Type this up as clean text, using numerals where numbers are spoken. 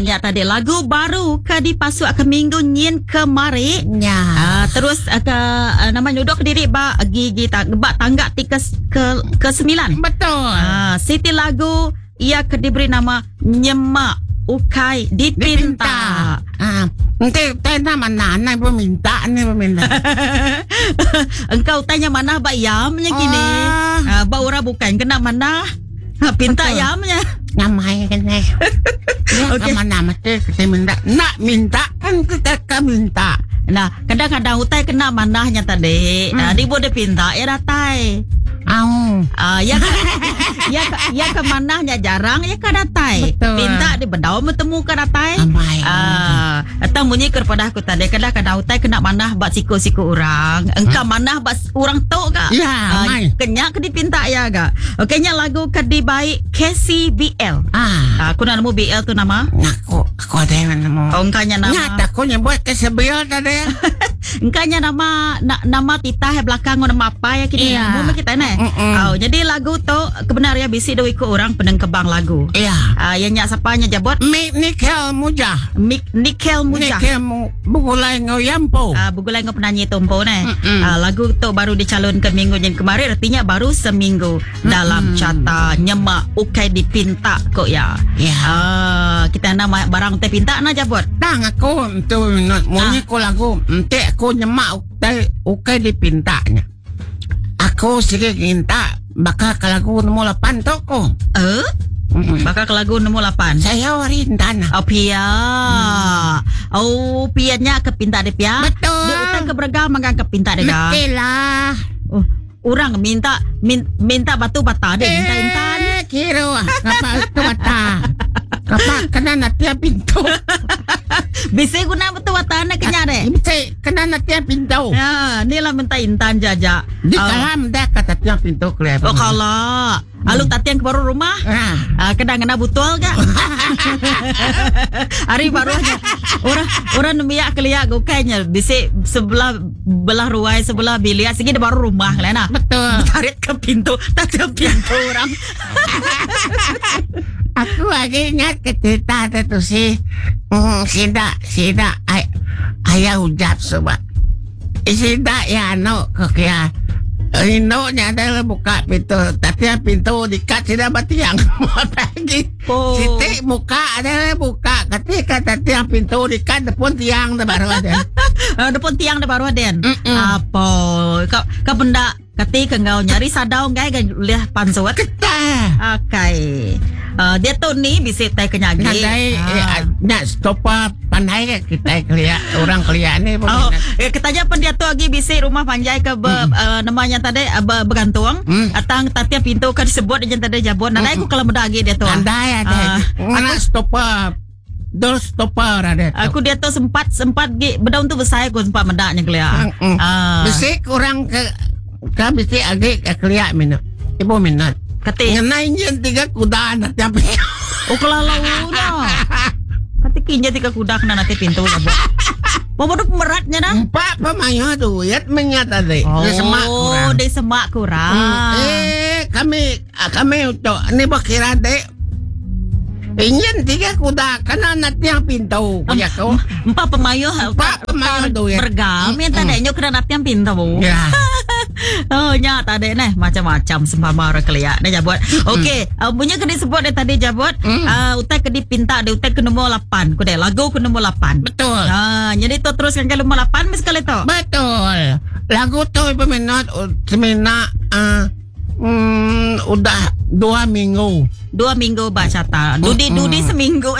Nya tadi lagu baru ke dipasuk ke minggu nyin kemari. Nya. Terus ke nama nyuduk kediri ba gigi ta, ba tangga ti ke ke, ke sembilan. Betul. Siti lagu iya ke diberi nama Nyemak Ukai Dipinta. Ah, enti utai enda manah anang peminta ni peminta. Engkau utai nya manah ba iya nya kini. Oh. Ba orang bukan kena manah. Ha, pinta Betul. iya nya. Nyamai kan eh. Ya, Okey. okay. mana mesti kita minta. Nak minta kan kita ka minta. Nah, kadang-kadang utai kena manahnya tadi. Nah, di boleh pinta ya datai. Au. Ah, ya ka, ya ka, ya ke manahnya jarang ya ka datai. Betul. Pinta di bedau betemu ka datai. Amai. Ah, atau munyi ke padah aku tadi kadang-kadang utai kena manah ba siku-siku orang. Engka manah ba orang tu ga. Ya, Ah, amai. kenya ke dipinta ya ga. Okey nya lagu ke dibai KCBL. Ah. Ah, aku nak nemu BL tu nama. Aku aku ada yang nemu. Oh, engka nya nama. Nyata aku nyebut ke sebil tadi. Engka nya nama na, nama titah yang belakang ngau nama apa ya kini. Iya. Nemu kita ne. Mm-mm. Oh, jadi lagu tu kebenar ya bisi dua iku orang penengkebang lagu. Iya. Ah, yang nya siapa nya jabot? Mik Nikel Mujah. Mik Nikel Mujah. Nikel mu begulai ngau Yampo. Ah, begulai ngau penyanyi tu empu ne. Mm-mm. Ah, lagu tu baru dicalonkan minggu yang kemarin artinya baru seminggu dalam carta nyemak ukai dipinta kok ya. Ya. Ah, kita nak barang te pinta na jabot. Tang aku tu munyi ko lagu enti aku nyemak utai ukai dipintanya. Aku sigi nginta baka ke lagu nombor 8 tu ko. Eh? Baka ke lagu nombor 8. Saya hari intan. Oh pia. Oh pia nya ke pinta dia pia. Betul. Dia utai ke berega manggang ke pinta dia ga. Betul lah. Oh, orang minta min, minta batu bata dia minta intan. Eh, kira ah. Kapak tu bata. Kapak kena natia pintu. Bisa guna batu bata nak kenya deh. Bisa kena natia pintu. Ya, ni lah minta intan jaja. Di kalam dah kata tiang pintu keluar. Oh kalau Alu tatiang ke baru rumah. Ah. Kena ngena butol ga. Hari baru aja. Orang orang nemiak kelia gukainya bisi sebelah belah ruai sebelah bilik sigi di baru rumah lah nah. Betul. Tarik ke pintu, tatiang pintu orang. Aku lagi ingat ke cerita tu si sida sida ay, ayah ujap sebab sida ya anu ke kia Indu nya ada buka pintu tapi pintu dikat sida ba tiang pagi. Oh. Siti muka ada buka ketika tiang pintu dikat depan tiang da baru ada. Depan tiang da baru den. Mm-mm. Apa ka ka benda kati ke enggau nyari sadau enggai ga ulih pansut. Keta. Akai. Dia tu ni bisi tai ke nyagi. Nadai eh, nya stopa pandai ke kitai kelia orang kelia ni. Oh, eh, ketanya pen dia tu agi bisi rumah panjai ke be, nama nya tadi be, bergantung. Atang tatia pintu ke disebut dia tadi jabut. Nadai aku kalau meda agi dia tu. Nadai ada. Ngena stopa Dol stopper ada tu. Aku dia tu sempat sempat gi bedau tu besai aku sempat meda nya kelia. Bisi kurang ke ke bisi agi ke kelia minat. Ibu minat. Kati. Ngena enjin tiga kuda nak tiap pintu. Oh kelalau dah. Kati kinja tiga kuda kena nanti pintu lah buat. Bawa tu pemeratnya dah. Empat pemayuh duit menyat tadi. Oh, Dia semak kurang. Dia semak kurang. Eh, kami kami untuk ni berkira dek. Enjin tiga kuda kena nak tiang pintu. Punya kau. Empat pemayuh. Empat pemayuh duit. Bergam yang tadi nyo kena nak tiang pintu. Ya. Oh nya tadi neh macam-macam sempama orang kelia neh jabut. Okey, punya kena sebut dia tadi jabut. Utai ke dipinta dia utai ke nombor 8. Ku deh lagu ke nombor 8. Betul. Jadi tu teruskan ke nombor 8 mesti sekali tu. Betul. Lagu tu peminat semina udah 2 minggu. 2 minggu baca ta. Dudi-dudi seminggu.